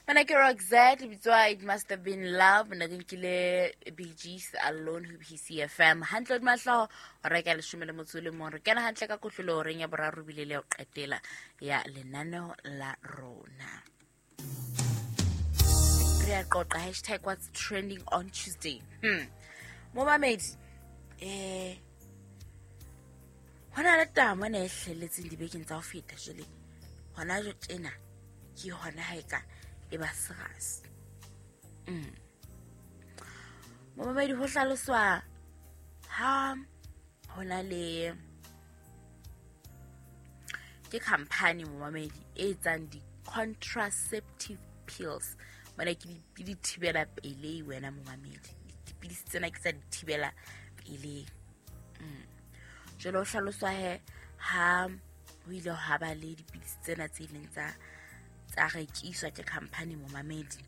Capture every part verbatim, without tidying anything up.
Mana ke Roxette, lebitso It Must Have Been Love. Nna ke nkile Bee Gees Alone ho P C F M. Hantle hodima hlooho, hora ke ya leshome le motso o le mong. Re kena hantle ka kotlolo horeng ya boraro bile le ho qetela ya lenaneo la rona. Re a qoqa hashtag what's trending on Tuesday. Hmm. Momamedi, eh, hona le taba mona e hlelletseng dibekeng tsa ho feta jwale. Hona jwale tjena ke hona ha e ka e ba serious. Mm. Momamedi, ho hlaloswa ha hona le ke company momamedi e etsang di-contraceptive pills. Mona ke di, ke di thibela pelehi wena momamedi. Dipidisi tsena ke tsa di thibela pelehi. Mm. Jwale ho hlaloswa he ha ho ile ha ba le dipidisi tsena tse ileng tsa, tsa rekiswa ke company momamedi.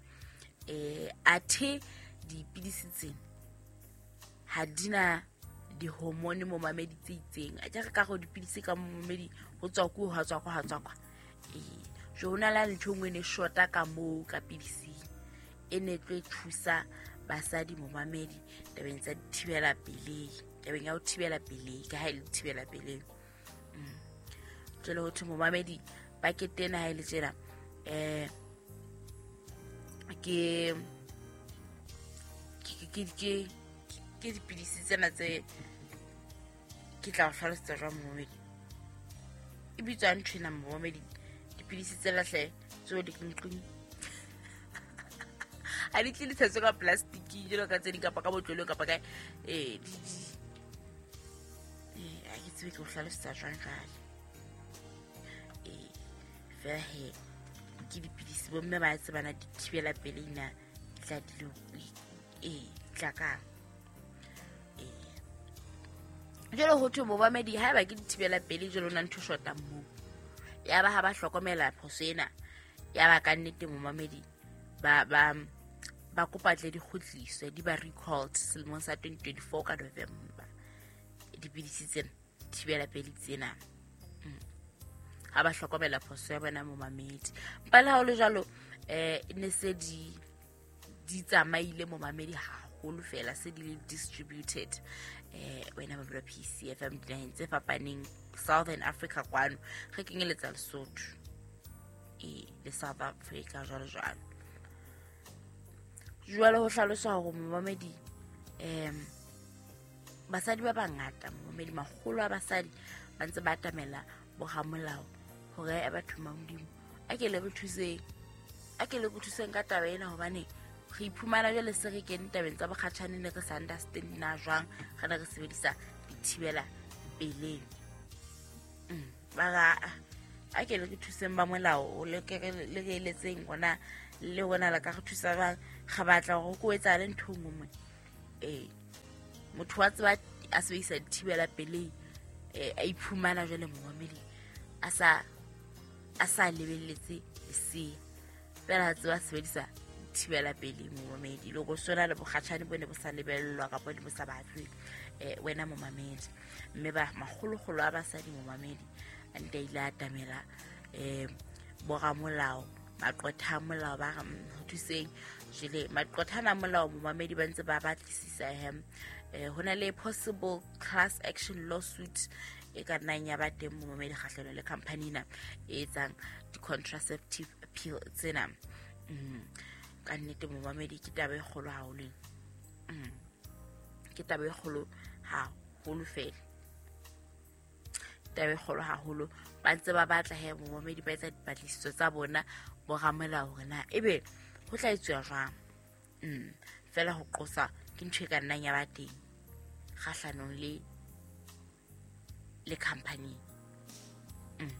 Eh, athe dipidisi tsena ha di na di-hormone momamedi tse itseng. A ke re ka hore dipidisi ka momamedi ho tswa ko, ha tswa ko, ha tswa kwa. Eh, jwale ho na le ntho e nngwe e ne shota ka moo ka pidising e ne tlo thusa basadi momamedi tabeng tsa dithibela pelehi, tabeng ya ho thibela pelehi, ka ha e le thibela pelehi. Mm. Jwale ho thwe momamedi pakete ena ha e le tjena, eh, ke, ke, ke, ke, ke dipidisi tsena tse ke tla o hlalosetsa jwang momamedi. E bitswa ntho ena momamedi, dipidisi tsena hle tseo di nqing. Ha di tle di tshetswe ka plastic jwalo ka tse ding kapa ka botlolong kapa kae. Eh, di, di, eh, ha ke tsebe ke o hlalosetsa jwang jwale. Eh, fela he, ke dipidisi bomme ba tsebana di thibela pelehi na, di tla di le, eh, di tla kang. Eh, jwale ho thwe momamedi haeba ke di thibela pelehi jwale ho na ntho e shotang moo. Ya ba ha ba hlokomela phoso ena, ya ba ka nnete momamedi ba, ba, ba kopa tle di kgutliswe, di ba recalled selemong sa twenty twenty-four ka November. Dipidisi tsena, thibela pelehi tsena. Mm. Ha ba hlokomela phoso ya bona momamedi. Empa le ha ho le jwalo, eh, ne se di, di tsamaile momamedi haholo fela, se di le distributed. Eh, wena mamedi wa P C F M dinaheng tse fapaneng, Southern Africa kwano, re kenyeletsa Lesotho, eh, le South Africa jwalo jwalo. Jwale ho hlaloswa hore momamedi, em, basadi ba bangata, momamedi, makgolo a basadi ba ntse ba atamela boramolao hore a batho ba Modimo, a ke le re thuseng, a ke le re thuseng ka taba ena, hobane re iphumana jwale se re kene tabeng tsa bokgatjhane, ne re sa understand na jwang re ne re sebedisa dithibela peleng. Mm, ba ra, a ke le re thuseng ba molao, le ke re, le re eletseng rona, le rona le ka re thusa jwang, re batla hore ko etsahale ntho e nngwe mona. Eh, motho wa tseba a sebedisa dithibela peleng, eh, a iphumana jwale momamedi a sa, a sa lebelletse lesea, fela a tseba a sebedisa thibela pele momamedi, le go swana le bokgatjhane bo ne bo sa lebellwa kapa di bo sa batlwe, eh, wena momamedi. Mme ba makgolokgolo a basadi momamedi a nte a ile a atamela, eh, boramolao, maqwetha a molao, ba re, mm, ho thuseng. Jwale maqwetha ana a molao momamedi ba ntse ba batlisisa he, eh, ho na le possible class action lawsuit e ka nnang ya ba teng momamedi kgahlanong le company ena e etsang di-contraceptive pill tsena. Mm. Ka nnete momamedi ke taba e kgolo haholo ena. Mm. Ke taba e kgolo haholo fela. Taba e kgolo haholo. Ba ntse ba batla he momamedi ba etsa dipatlisiso tsa bona boramolao hore na ebe ho tla etsuwa jwang. Mm. Fela ho qosa ke ntho e ka nnang ya ba teng kgahlanong le, le company. Mm.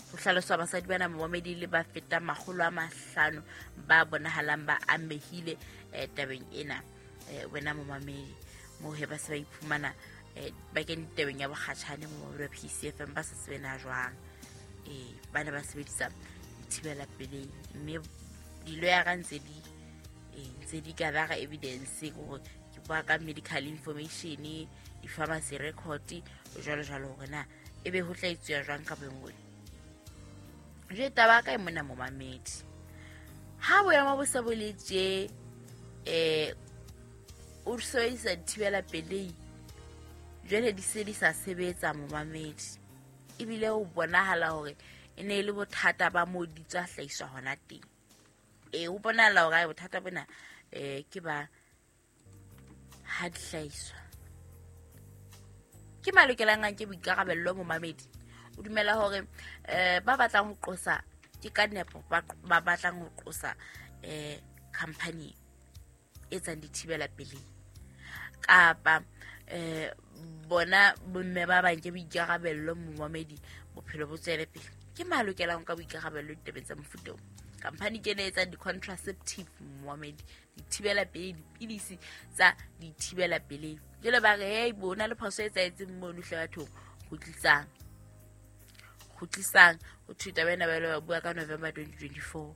Ho hlaloswa basadi bana momamedi le ba fetang makgolo a mahlano ba bonahalang ba amehile, eh, tabeng ena. Eh, wena momamedi, moo he ba se ba iphumana, eh, ba kene tabeng ya bokgatjhane momamedi wa P C F M ba sa tsebe na jwang. Eh, ba ne ba sebedisa dithibela pelehi, mme diloyara ntse di, eh, ntse di gather evidence hore ke bua ka medical information, di-pharmacy record, jwalo jwalo, hore na ebe ho tla etsuwa jwang ka bongwe. Jwale taba ya ka e mona momamedi. Ha boemo bo se bo le tje, eh o sebedisa dithibela pelei jwale di se di sa sebetsa momamedi, ebile o bonahala hore e ne e le bothata ba moo di tswa hlahiswa hona teng. E o bonahala hore bothata bona eh ke ba ha di hlahiswa. Ke malokelang a nke boikarabello momamedi. O dumela hore eh ba batlang ho qosa ke ka nepo ba ba batlang ho qosa eh company e tsang dithibela pelei, kapa eh bona bomme ba bang ke boikarabello momamedi, bophelo bo tswele pele. Ke malokelang ka boikarabello ditabeng tsa mofuta o. Company ke ena e etsang di-contraceptive momamedi, dithibela pelei, dipidisi tsa dithibela pelei. Jwale ba re hey bona le phoso e etsahetseng mono hle bathong, kgutlisang kgutlisang. Ho thwe taba ena ba ile ba bua ka November twenty twenty-four.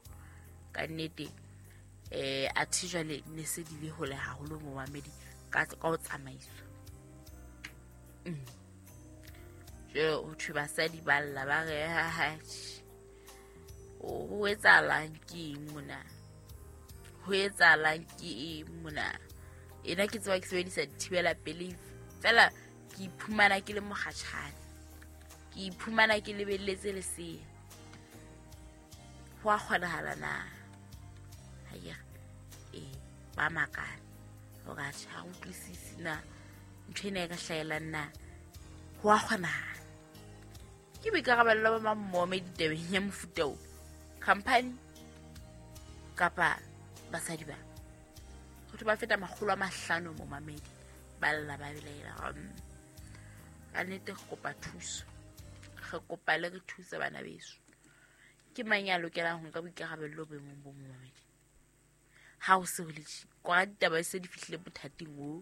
Ka nnete eh athe jwale ne se di le hole haholo momamedi ka ka ho tsamaiswa. Mm. Jwale ho thwe basadi ba lla ba re ha ha ho etsahalang ke eng mona, ho etsahalang ke eng mona. Ena ke tseba ke sebedisa dithibela pelei fela ke iphumana ke le mokgatjhane, ke iphumana ke lebelletse lesea. Ho a kgonahala na? Haiya, eh ba makala hore atjhe ha utlwisisi na ntho ena e ka hlahelang na. Ho a kgonahala. Ke boikarabello ba mamome ditabeng ya mofuta o, company kapa basadi ba. Ho thwe ba feta makgolo a mahlano momamedi ba lla ba belaela. Ka nnete re kopa thuso, re kopa le re thuse bana beso. Ke mang ya lokelang ho nka boikarabello boemong bo momamedi? Ha ho se ho le tje, kwa ditaba se di fihlile bothateng o.